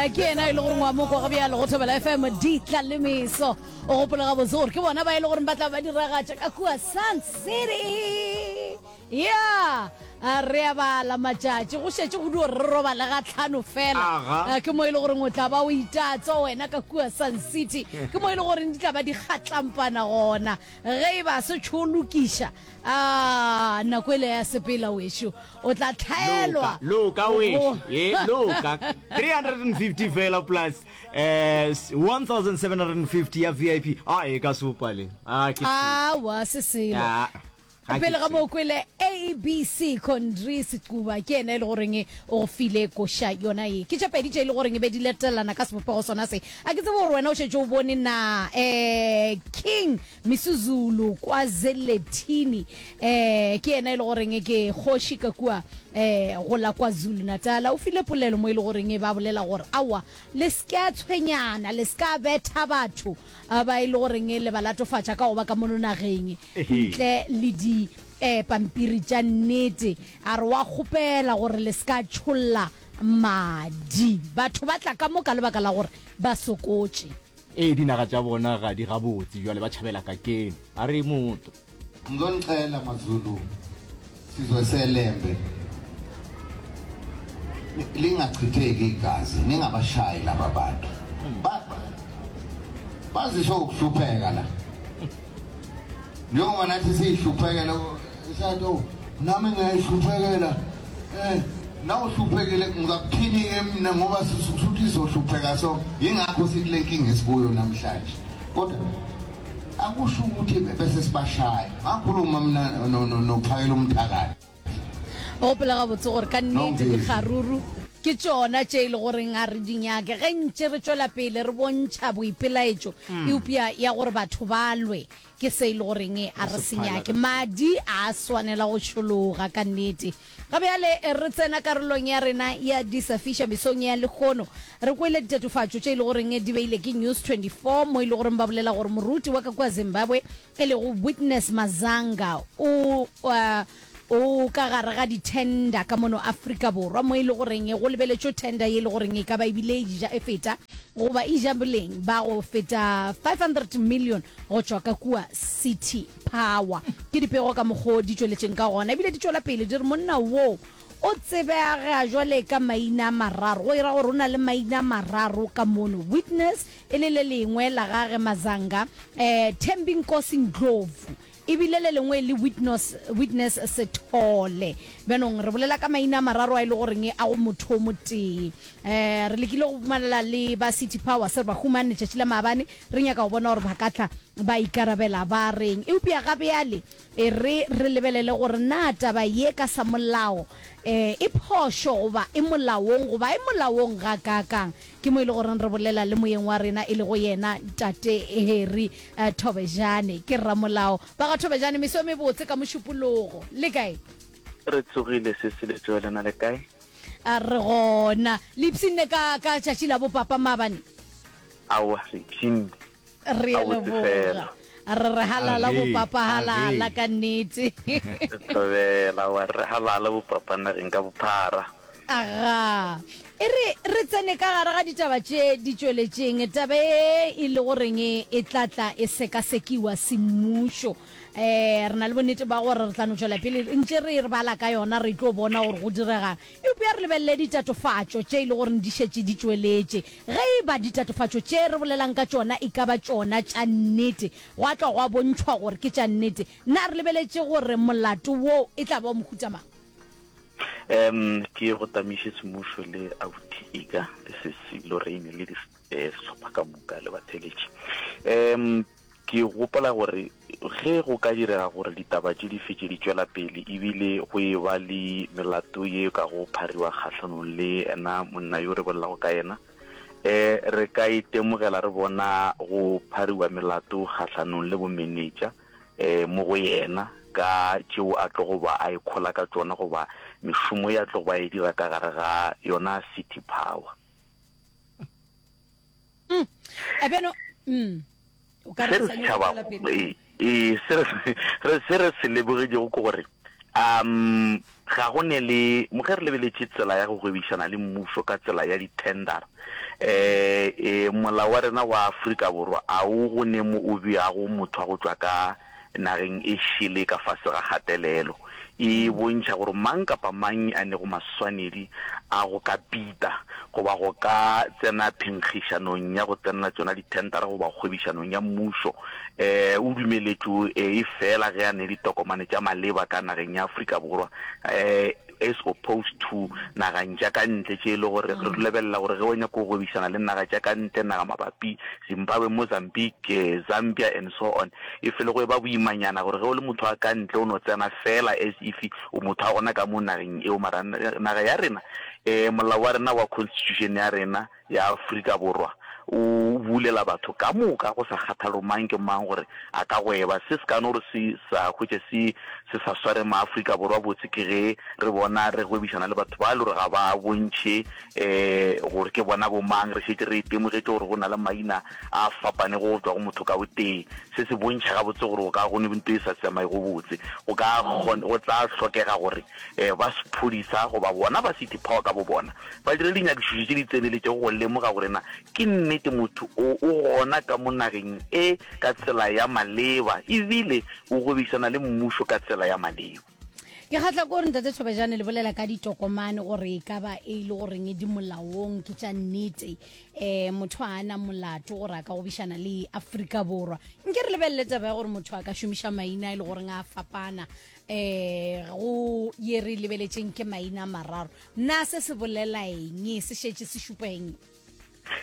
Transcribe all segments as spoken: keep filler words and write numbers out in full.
Eh, ke yena e le gore ngwa moko ga bjalo go Thobela F M ditla le meso. O gopola gabotse gore ke bona ba e le gore ba tla ba diragatša ka kua Sun City. Ya, re a bala matšatši, go šetše go dio re robale ga tlhano fela. Aga. Eh, ke mo e le goreng o tla ba o itatso wena ka kua Sun City, ke mo e le goreng di tla ba di kgatlampana gona. Ge e ba se tšho lokiša a nako ele ya sepela wešo, o tla tlhaelwa. Loka wešo, ye loka three hundred and fifty fela plus eh one thousand seven hundred and fifty ya V I P, a e ka sopa le a ke Awa, se selo. Ah, ga ke Pele ga tsebe. Mo kwele A B C Condry Secuba, ke ena e le goreng o go file koša yona ye. Ke tše pedi tše e le goreng e be di latelana ka sebopego sona se. A ke tsebe gore wena o šetše o bone na um King Misuzulu KwaZwelithini, um ke yena e le goreng ke kgoši ka kua um go la KwaZulu Natal, o file polelo mo e le goreng ba bolela gore aowa, le se ke a tshwenyana, le se ka betha batho a ba e le goreng le ba latofatša ka go ba ka mono nageng Ehe. ntle le di um pampiri tša nnete. A re wa kgopela gore le se ka tšholla madi, batho ba tla ka mo ka lebaka la gore ba sokotše. Ee, dinaga tša bona ga di gabotse, jwale ba tšhabela ka keno a re motho. Ngizonicela maZulu, sizwe seLembe, lingachitheki igazi, ningabashayi laba bantu. Ba- bazisho ukuhlupheka la, njengoba nathi siyihluphekela. Sathi, "Oh, nami ngiyayihluphekela." eh nawuhluphekile ngizakuthini-ke mina, ngoba suthi izohlupheka? So yingakho sikule nkinga esikuyo namhlanje, kodwa akusho ukuthi bese sibashaya. Ngakhuluma mina no- no- nophakela umthakathi. O gopola gabotse gore ka nnete Nongezi. Dikgaruru ke tšona tše e le goreng a re di nyake ge ntše re tšwela pele re bontšha boipelaetšo, eupša ya gore batho ba lwe ke se e le goreng a re se nyake. Madi a swanela go tšhologa ka nnete. Ga bjale re tsena karolong ya rena ya disafiša mesong ya lekgono. Re kwele ditatofatšo tše e le goreng di beile ke News twenty-four, mo e le goreng ba bolela gore moruti wa ka kua Zimbabwe e lego Witness Mazanga o uh, o ka gare ga di-tender ka mono Afrika Borwa, mo e le goreng go lebeletšwe tender ye e le goreng e ka ba ebile e ja e feta goba e ja boleng ba go feta five hundred million go tšwa ka kua City Power. Ke dipego ka mokgwa di tšweletšeng ka gona, ebile di tšwela pele di re monna wo o tsebega jwale ka maina a mararo, go ira gore o na le maina a mararo ka mono, Witness e le le lengwe la gage Mazanga, um Thembinkosi Ndlovu, ebile le lengwe le Witness, Witness Sethole. Bjanong re bolela ka maina a mararo a e le goreng a go motho o motee. um re lekile go humanela le ba City Power, se re ba humane letšatši la maabane, re nyaka go bona gore ba ka tla ba ikarabela ba reng, eupša ga bjale e re re lebelele gore na taba ye ka sa molao um e phošo goba e molaong goba e molaong ga kakang. Ke mo e le goreng re bolela le moyeng wa rena e lego yena tate Harry uh, Thobejane, ke ramolao. Ba ga Thobejane, meso e mebotse ka Mošupologo, le kae? Re tsogile se se letšo, lena le kae? A re gona. Le ipshinne ka ka tšatši la bopapa maabane? Aowa, re ipshinne. Re a Gabotse leboga. fela. Re re halala Age, bopapa, halala age. ka nnete. Re thobela wa re halala bopapa nageng ka bophara. Aga, e re re tsene ka gare ga ditaba tše di tšweletšeng. Taba e e le goreng e tla tla e sekasekiwa semmušo, um re na le bonnete ba gore re tla no tšwela pele ntše re re bala ka yona, re tlo bona gore go diregang. Eupša re lebelele ditatofatšo tše e le goreng di šetše di tšweletše. Ge e ba ditatofatšo tše re bolelang ka tšona e ka ba tšona tša nnete, gwa tla gwa bontšhwa gore ke tša nnete, na re lebeletše gore molato wo e tla ba o mohuta mang? um ke go tamiše semmušo le abuti Ika le sesi Lorraine le eh, sehlopha ka moka le batheletši. um ke gopola gore ge go ka direga gore ditaba tše di fetše di tšwela pele, ebile go e ba le melato ye ka go phariwa kgahlanong le ena monna yo re bolelago ka yena, um re ka itemogela re bona go phariwa melato kgahlanong le bomenetša um mo go yena ka tšeo a tlo go ba a ikgola ka tšona goba mešomo ya tlo go ba e dira ka gare ga yona City Power. mm. bjano mm. o ka Se re re sa nyaka setšhaba go tšwela pele. Ee, se re re se re se lebogetšego ke gore um ga go ne le mo ge re lebeletše tsela ya go gwebišana le mmušo ka tsela ya di-tender, Um molao wa rena wa Afrika Borwa a o go ne mo o beago motho wa go tšwa ka nageng e šele ka fase ga kgatelelo. E bontšha gore mang kapa mang a nego maswanedi a go ka pita goba go ka tsena phenkgišanong ya go tsenela tšona dithentara goba kgwebišanong ya mmušo um o dumeletšwe efela ge a ne ditokomane tša maleba ka nageng ya Afrika Borwa um as opposed to nageng tša ka ntle tše e le gore re lebelela gore ge o nyaka go gwebišana le naga tša ka ntle, naga mabapi, Zimbabwe, Mozambique, Zambia and so on, e fele go eba boimanyana gore ge o le motho wa ka ntle o no tsena feela as if o motho wa gona ka mo nageng eo. Mara naga ya rena, um molao wa rena wa constitution ya rena ya Afrika Borwa o bulela batho ka moka go sa kgathale gore mang ke mang gore a ka gweba. Se se ka no re se sa hwetše se se sa sware maAfrika Borwa botse ke ge re bona re gwebišana le batho ba e le gore ga ba bontšhe um gore ke bona bo mang. Re šetše re itemogetše gore go na le maina a fapanego go tšwa go motho ka o tee. Se se bontšha gabotse gore go ka go ne nto e sa tsamaego botse. Go ka go tla hlokega gore um ba sephodisa goba bona ba City Power ka bobona ba dire dinyakišišo tše di tseneletšego go lemoga gore na ke nnete motho o o gona ka mo nageng e ka tsela ya maleba ebile o gwebišana le mmušo ka tsela ya maleba. Ke kgahla ke gore Ntate Thobejane le bolela ka ditokomane gore e ka ba e le goreng di molaong ke tša nnete um motho a na molato gore a ka gobišana le Afrika Borwa. Nke re lebelele taba ya gore motho a ka šomiša maina e le goreng a fapana um go ye re lebeletšeng ke maina a mararo. Na se se bolela eng? Se šetše se šupa eng?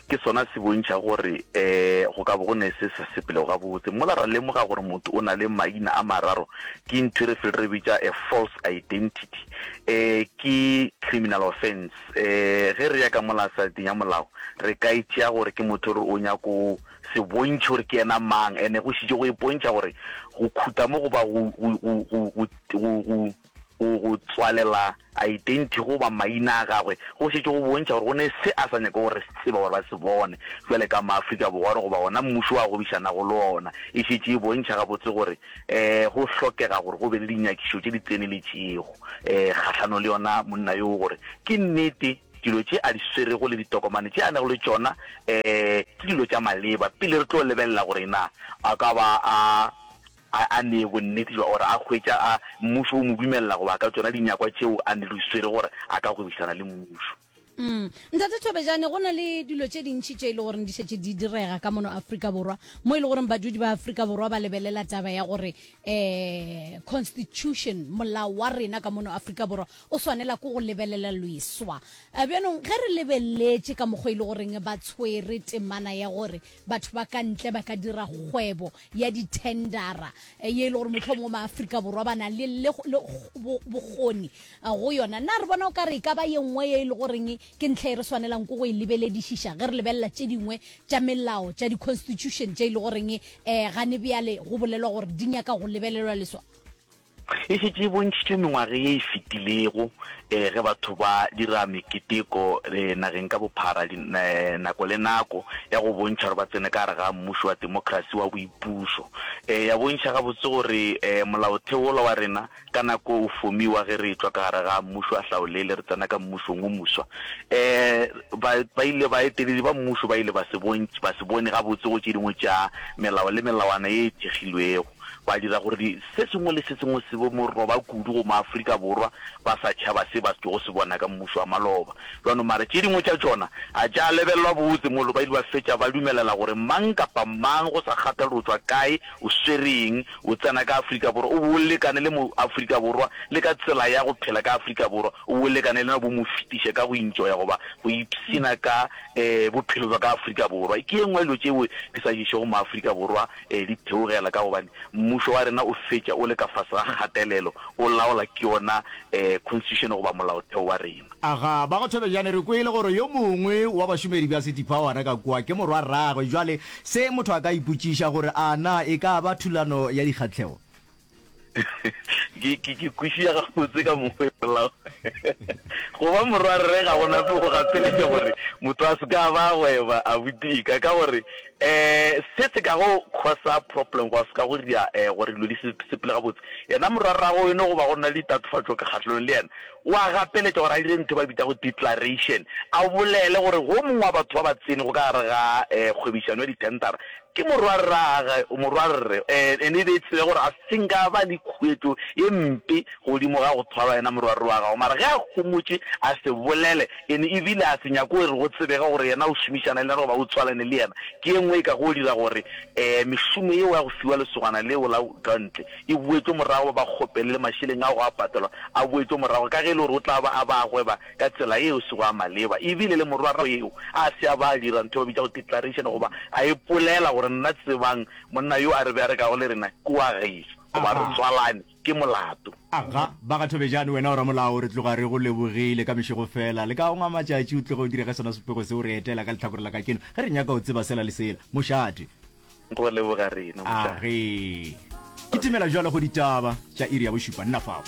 Ke sona se bontšha gore um go ka bo go ne se sa sepelego gabotse. Mola ra lemoga gore motho o na le maina a mararo, ke ntho e re fele re bitša a false identity. Um ke criminal offence. Um ge re ya ka mola saeteng ya molao, re ka e tšea gore ke motho gore o nyako se bontšhe gore ke yena mang, ene go šitše go ipontšha gore go khuta mo goba go, go, go, go, go, go, go, go, go tswalela identity goba maina a gagwe go šetše go bontšha gore go ne se a sa nyake gore re se tseba gore ba se bone bjale ka maAfrika Borwa goba gona mmušo wa gwebišanago le ona. E šetše e bontšha gabotse gore um go hlokega gore go be le dinyakišo tše di tseneletšego um kgahlanong le yona monna yoo gore ke nnete dilo tše a di swerego le ditokomane tše a nago le tšona um ke dilo tša maleba pele re tlo lebelela gore na a ka ba a a a nee bonnete bja gore a hwetša a mmušo o mo dumelela goba ka tšona dinyakwa tšeo a ne di swere gore a ka gwebišana le mmušo. Mm. Ntate Thobejane, go na le dilo tše dintši tše e le goreng di šetše di direga ka mono Afrika Borwa, mo e le goreng badudi ba Afrika Borwa ba lebelela taba ya gore um constitution, molao wa rena ka mono Afrika Borwa o swanela ke go lebelela leswa. Bjanong ge re lebeletše ka mokgwa e le goreng ba tshwere temana ya gore batho ba ka ntle ba ka dira kgwebo ya dithendara ye e le gore mohlomongwe maAfrika Borwa ba na le le bokgoni go yona, na re bona o ka re e ka ba ye nngwe ye e le goreng ke ntlha e re swanelang ke go e lebeledišiša ge re lebelela tše dingwe tša melao tša di-constitution tše e le goreng um gane bjale go bolelwa gore di nyaka go lebelelwa leswa? E šetše e bontšhitšwe mengwaga ye e fetilego ge batho ba dira meketeko nageng ka bophara nako le nako ya go bontšha gore ba tsene ka gare ga mmušo wa temokrasi wa boipušo. Ya bontšha gabotse gore molaotheo wola wa rena ka nako o fomiwa ge re etšwa ka gare ga mmušo wa hlaolele re tsena ka mmušong wo moswa, ba, ba ile baeteledi ba mmušo ba ile ba se bontšhe, ba se bone gabotse go tše dingwe tša melao le melawana ye e thekgilwego. Ba dira gore di, se sengwe le se sengwe se be moroba kudu go maAfrika Borwa ba sa tšhaba se ba tšogo se bona ka mmušo wa maloba. Bjano mara tše dingwe tša tšona a tša lebelelwa botse molo ba ile ba fetša ba dumelela gore mang kapa mang go sa kgathale gore o tšwa kae, o swere eng, o tsena ka Afrika Borwa o be o lekane le moAfrika Borwa le ka tsela ya go phela ka Afrika Borwa o be o lekane le yena o be o mo fetiše ka go intšoya goba go ipshina ka um bophelo bja ka Afrika Borwa. Ke ye nngwe ya dilo tšeo di sa ješego maAfrika Borwa um di theogela ka gobane mmušo wa rena o fetša o le ka fase ga kgatelelo, o laola ke yona um constitution goba molaotheo wa rena. Aga, ba go Thobejane, re kwele gore yo mongwe wa bašomedi bja City Power ka kua ke morwarragwe. Jwale se motho a ka ipotšiša gore a na e ka ba thulano ya dikgahlego? Ke ke ke kwešiša gabotse ka mokgwa e bolelago. Go ba morwarre ga go nape go gapeletša gore motho a se ka ba a gweba abuti ka ka gore um se se ka go causa problem goba se ka go dira um gore dilo di se sepele gabotse. Yena morwarrago eno goba go na le ditatofatšo kgahlelong le yena, o a gapeletša gore a dire ntho e ba e bitšago declaration, a bolele gore go mongwe wa batho ba ba tsenego ka gare ga um kgwebišano ya dithendara ke morwarrage, morwarre, and e be e tsebe gore a se nka ba le khuetšo ye mpe godimo ga go thwalwa yena morwarre wa gagwe. Mara ge a homotše a se bolele, and e bile a se nyake gore go tsebege gore yena o šomišana le yena goba o tswalane le yena, ke ye nngwe e ka go dira gore um mešomo yeo ya go fiwa lesogana leo la ka ntle e boetšwe morago, ba ba kgopele le mašeleng ao go a patelwa a boetšwe morago, ka ge e le gore o tla ba a ba gweba ka tsela yeo e sego ya maleba. E bile le morwarrago eo a se a ba a dira ntho e ba bitšago declaration goba a ipolela gore nna tsebang monna yo a re berekago le rena ke wa gešo goba re tswalane, ke molato. Aga, ba ga Thobejane, wena o ramolao, re tloga re go lebogile ka mešego fela. Le ka gongwe a matšatši o tloge o dire ge sona sepego se o re etela ka lehlakore la kajeno ge re nyaka go tseba sela le sela. Mošate. Go leboga rena, mošate. Age. Kitimela bjalo go ditaba tša iri ya bošupa. Nna fao.